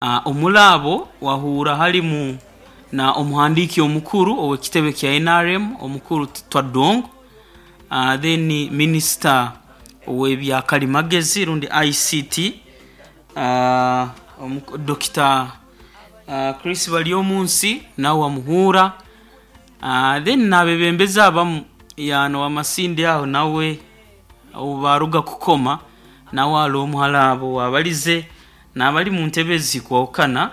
Omuri abo wahuura harimu na omuhandiiki omukuru ow'ekitebe kya NRM omukuru Twadong, then minisita ow'ebya karimagezi rundi ICT Dokita Chris Baryomunsi nawe wamuhuura then n'abeebembezi abamu n'owa Masindi aho nawe obu baaruga kukoma nawe ari omu hali abo owaabarize n'abari mu ntebe ezikwahukana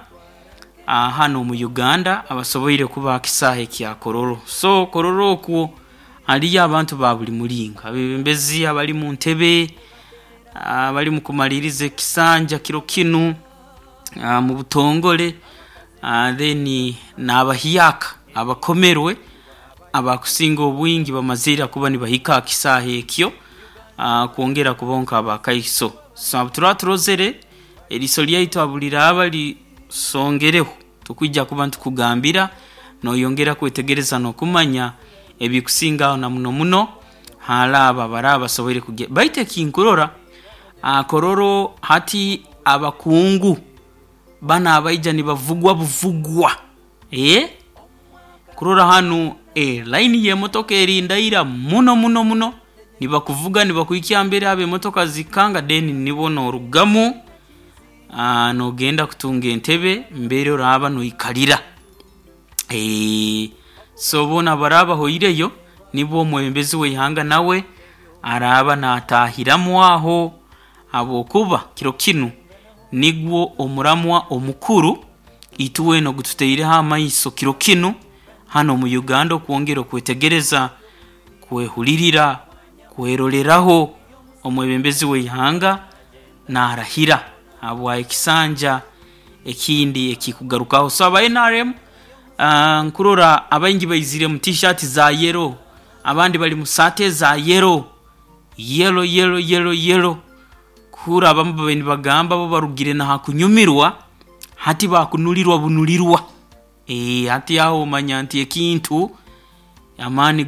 hanu omu Uganda abasoboire kuba aha kisaahe kya Kololo. So Kololo okwo hariyo abantu ba buri muringo, abeebembezi abari mu ntebe, abari mu kumariiriza ekisanja kiro kinu mu butongore then n'abahyaka abakomerwe abakusinga obwingi bamazire kuba nibahika aha kisaahe ekyo kwongera kubaho nk'abakaiso. So obu turaba turozere eriiso ryaitu obu riraaba risongereho tukwija kuba nitukugambira noyongera kwetegereza n'okumanya ebikusingaho na muno muno hali abo abaraba basoboire kugenda. Baitu ekinkurora Kololo hati abakungu banu abaija nibavugwa buvugwa kurora hanu layini y'emotoka erindaira muno muno muno nibakuvuga nibakuhikya mbere ab'emotoka zikukanga then nibo noorugamu noogenda kutunga entebe mbere oraaba noikarira. So boona abaraba bahoireyo nibwo omwebembezi w'eihanga nawe araaba naatahiramu aho habwokuba kiro kinu nigwo omuramwa omukuru itwena ogu tutaireho amaiso kiro kinu hanu omu Uganda okwongera okwetegereza, kwehulirira, kweroreraho omwebembezi w'eihanga naarahira habwa ekisanja ekindi ekikugarukaho. So aba NRM nkurora abaingi baizire mu tishaati za yellow, abandi bari mu saati eza yellow, yellow yellow yellow yellow kuhuurra abamu babaire nibagamba bo barugire n'aha kunyumirwa hati baakunurirwa bunurirwa. Hati aho omanya nti ekintu amaani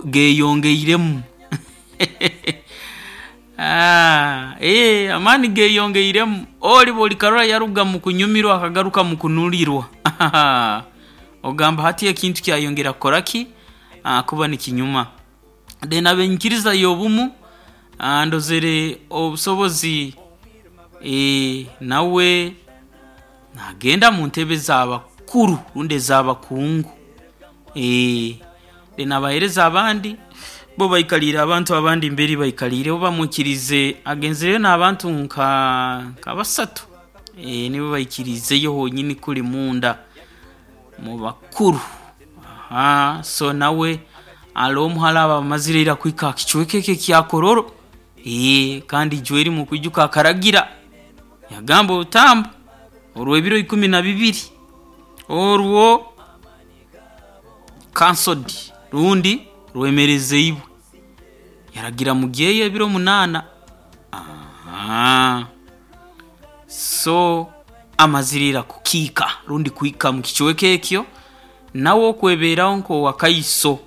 geeyongeiremu. Amaani geeyongeiremu ori bw'orikarora yaruga mu kunyumirwa akagaruka mu kunurirwa ogamba hati ekintu kyayongera kukora ki? Kuba nikinyuma. Then ab'enyikiriza y'obumu ndozere obusobozi nawe naagenda mu ntebe z'abakuru rundi ez'abakungu. Then abaheereza abandi bo baikaliire abantu abandi mbere baikaliire bo bamwikiriize agenzireyo n'abantu nka nka basatu nibo baikiriizeyo honyini kuli munda mu bakuru. So nawe ari omu hali abo abamazire ira kuhika aha kicweka eki ekya Kololo kandi ijweri mukwijuka akaragira yagamba orutambo orw'ebiro ikumi na bibiri orwo cancelled rundi rwemereziibwe yaragira mugyeyo ebiro munaana. So amazire ira kukiika rundi kuhika mu kicweka ekyo nawe okwebeeraho nk'owakaiso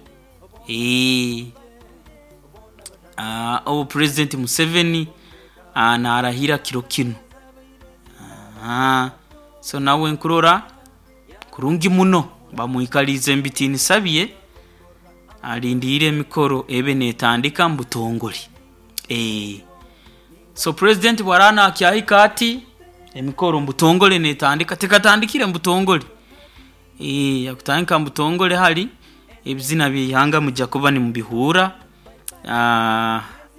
obu Purezidenti Museveni naarahira kiro kinu. So nawe nkurora kurungi muno bamwikaliize mu bitiinisa bye alindiire emikoro ebe neetandika mu butongore. So Purezidenti obu araaba naakyahika ati, emikoro omu butongore neetandika, tekatandikire mu butongore. Yakutandika mu butongore hari ebizina by'eihanga mwija kuba nimubihuura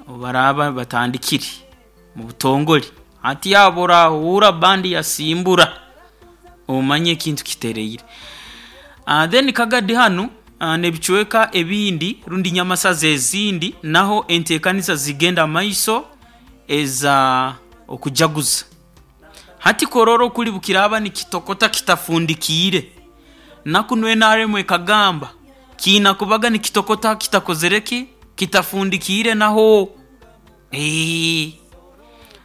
obu baraaba batandikire mu butongore. Hati aho orahuura bandi yasimbura omanye ekintu kitereire. Then Kagadi hanu n'ebicweka ebindi rundi Nyamasaza ezindi naho enteekaniza zigenda mu maiso eza okujaguza. Hati Kololo kuri bukiraaba nikitokota kitafundikiire, na kunu NRM ekagamba kiina kubaga nikitokota kitakozere ki? Kitafundikiire naho.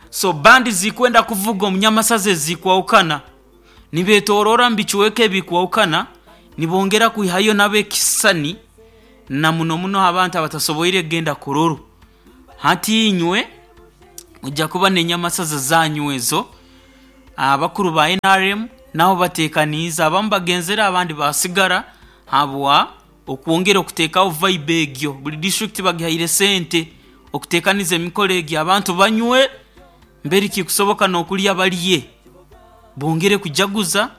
So bandi zikwenda kuvuga omu Nyamasaza ezikwahukana nibeetooroora mu bicweka ebikwahukana nibongera kwihayo nabo ekisisani na muno muno abantu abatasoboire kugenda Kololo. Hati inywe mwija kuba n'enyamasaza zanyu ezo. Abakuru ba NRM nabo bateekaniize, abamu bagenzere abandi basigara habwa okwongera okuteekaho vibe egyo. Buli district bagihaire sente okuteekaniza emikoro egyo abantu banywe mberi kikusoboka n'okulya balye bongere kujaguza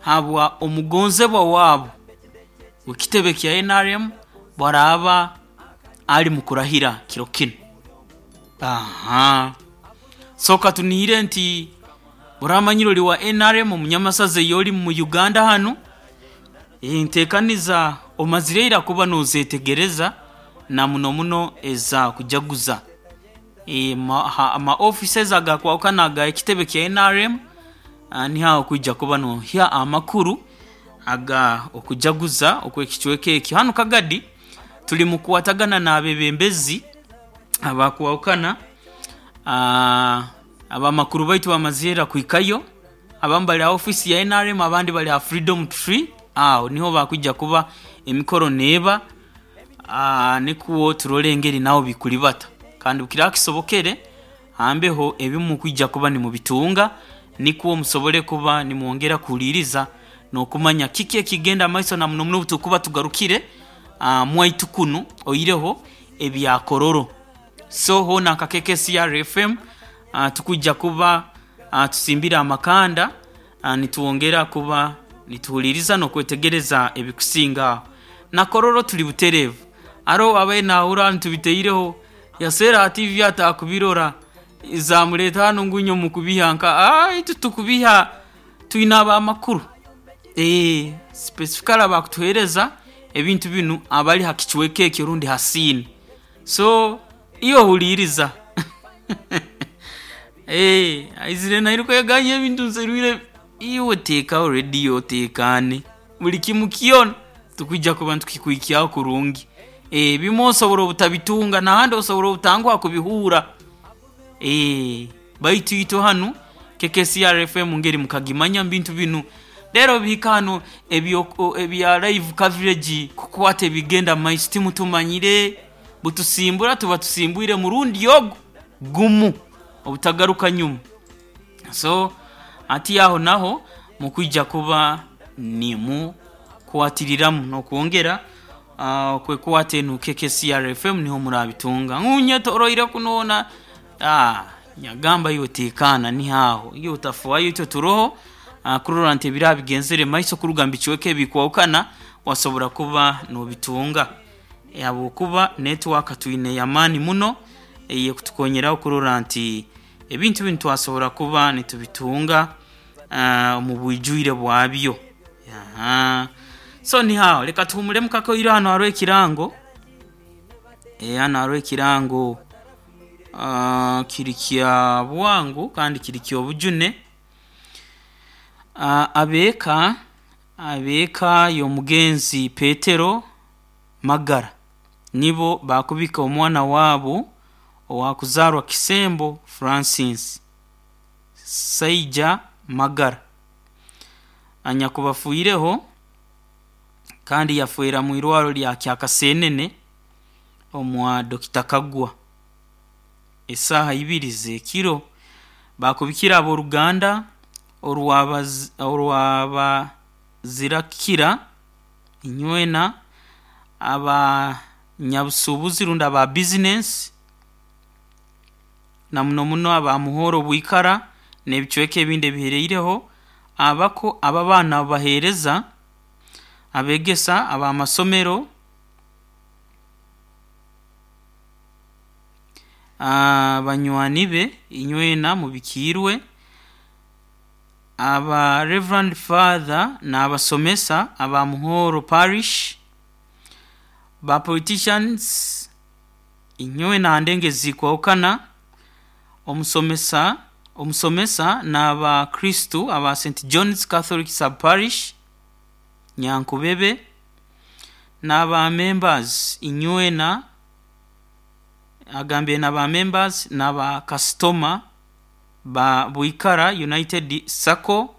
habwa omugonzebwa waabo w'ekitebe kya NRM bwaraaba ali mu kurahira kiro kinu. Aha. So katunihire nti oramanyire oli wa NRM omunyamasaza ey'oli mu Uganda hanu, enteekaniza omazire ira kuba noozetegereza na muno muno eza kujaguza. Ama offices agakwahukana aga ekitebe kya NRM niho aho okwija kuba nooha amakuru aga okujaguza okw'ekicweka ekyo. Hanu Kagadi tuli mu kukwatagana n'abeebembezi abakwahukana, abamakuru baitu bamazire ira kuhikayo, abamu bali ha ofiisi ya NRM abandi bali ha Freedom Tree aho niho bakwija kuba emikoro neeba nikwo turole engeri naho bikuribata. Kandi obu kiraba kisobokere hambeho ebimukwija kuba nimubitunga nikwo musobole kuba nimwongera kuhuliiriza n'okumanya kiki ekigenda mumaiso na muno muno obu tukuba tugarukire mwaitu kunu oihireho ebya Kololo. So hoona nka KKCR FM tukwija kuba tusimbire amakanda nitwongera kuba nituhuliiriza n'okwetegereza ebikusinga aho. Na Kololo tuli butereevu. Haroho owaabaire naahurra nitubitaireho yaseera ha tiivi ataakubirora zaamureeta hanu ngu inywe mukubiha nka itwe tukubiha twine ab'amakuru. Specifically abakutuheereza ebintu binu abari ha kicweka ekyo rundi ha siini. So iwe huliiriza. Aizire nairuka yagambye ebintu nserwire iwe teekaho rediyo oteekaane. Buli kimu kyona tukwija kuba nitukikuhikyaho kurungi. Ebimwe osobora obutabitunga n'ahandi osobora obutanguha kubihuura. Baitu itwe hanu KKCR FM ngeri mukagimanya omu bintu binu. Reero bihika hanu ebya live coverage kukwata ebigenda mumaiso timutumanyire. Butusimbura tuba tusimbwire murundi ogu gumu obutagaruka nyuma. So hati aho naho mukwija kuba nimukwatiriramu n'okwongera okwekwata enu KKCR FM niho murabitunga. Ngu nyetoroire kunu hoona nyagamba iwe teekaana niho aho iwe otafaayo itwe turoho kurora nti ebiraba bigenzere mumaiso kuruga mu bicweka ebikwahukana wasobora kuba noobitunga habwokuba network twine y'amaani muno ey'ekutukonyeraho kurora nti ebintu binu twasobora kuba nitubitunga omu bwijwire bwabyo. So niho aho leka tuhumulemu kakoire hanu haroho ekirango, hanu haroho ekirango kiri kya bwangu kandi kiri ky'obujune. Ab'eka ab'eka y'omugenzi Petero Magara nibo baakubika omwana waabo owaakuzaarwa Kisembo Francis Saija Magara anyakubafiireho kandi yafeera mu irwarro lya Kyakaseenene omwa Dokita Kagwa esaaha ibiri z'ekiro. Baakubikira ab'oruganda orwabazirakira inywena abanyabusuubuzi rundi aba bizinesi na muno muno aba Muhoro Bwikara n'ebicweka ebindi ebihereireho abako ab'abaana abaheereza, abeegesa ab'amasomero, banywani be inywena mubikiirwe, aba Reverand Father n'abasomesa aba Muhoro Parish, ba politicians inywena ha ndengo ezikwahukana, omusomesa omusomesa n'abakristu aba St John's Catholic Sub Parish Nyankubebe n'aba members inywena agambire n'aba members n'aba kasitoma ba Bwikara United Sacco,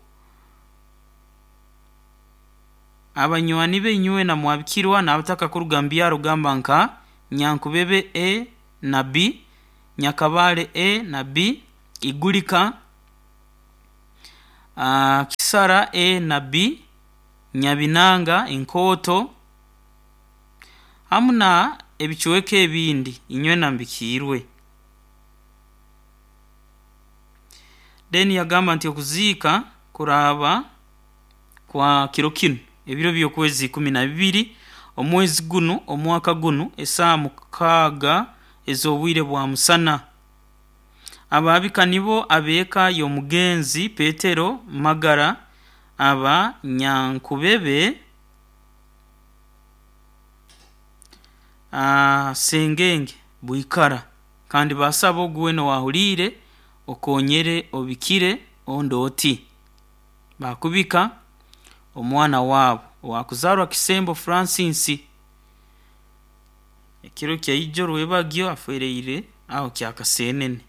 abanywani be inywena mwabikirwa n'abataka kuruga mu byaro gamba nka Nyankubebe A na B, Nyakabale A na B, Igulika. Kisara A na B, Nyabinanga, Enkooto hamu na ebicweka ebindi inywena mbikiirwe. Then yagamba nti okuziika kuraaba kwa kiro kinu ebiro by'okwezi 12 omwezi gunu omwaka gunu esaaha 6 ez'obwire bwa musana. Abaabika nibo ab'eka y'omugenzi Petero Magara aba Nyankubebe Sengenge Bwikara kandi basaba ogu weena owaahuliire okonyere obikire ondi oti baakubika omwana waabo owaakuzaarwa Kisembo Francis ekiro kya ijo rwebagyo aferiire aho Kyakasenene.